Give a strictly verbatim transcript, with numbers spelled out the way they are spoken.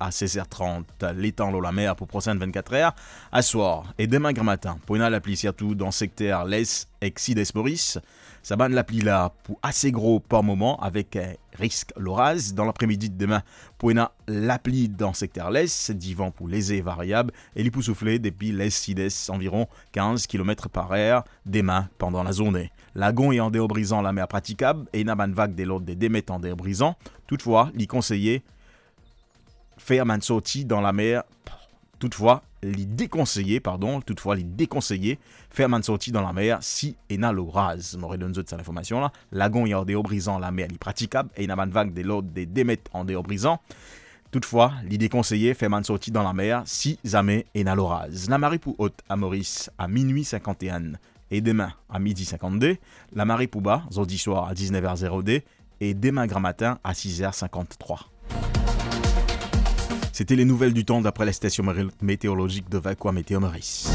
a sez er trant. Letan lor lamer pou prosenn vennkat er, aswar e demin gramatin, pou ena lapli sirtou dan sekter les ek sides Moris. Sa bann lapli la pou ase gro par moman avek, eh, risk loraz. Dan lapremidi demin, pou ena lapli dan sekter les, divan pou leze variab e li pou soufle depi les sides anviron kinz kilomet par er demin pandan lazourne. Lagon e andeor Brizan lamer pratikab e ena bann vag de lord de de met andeor Brizan. Toutfwa, li konseye fer bann sorti dan lamer. Toutfwa, li dekonseye, pardon, toutfwa, li dekonseye fer bann sorti dan lamer si ena loraz. Mo redonn zot sa linformasion la. Lagon e andeor Brizan lamer li pratikab e ena bann vag de lord de de met andeor Brizan. Toutfwa, li dekonseye fer bann sorti dan lamer si zame ena loraz. Lamari pou ot a Moris a minwi sinkant-e-enn e demin a midi sinkant-de. Lamari pou ba zordi swar a diz-nef er zero-de e demin gramatin a siz er sinkant-trwa. C'était les nouvelles du temps d'après la station météorologique de Vacoa Météo Maurice.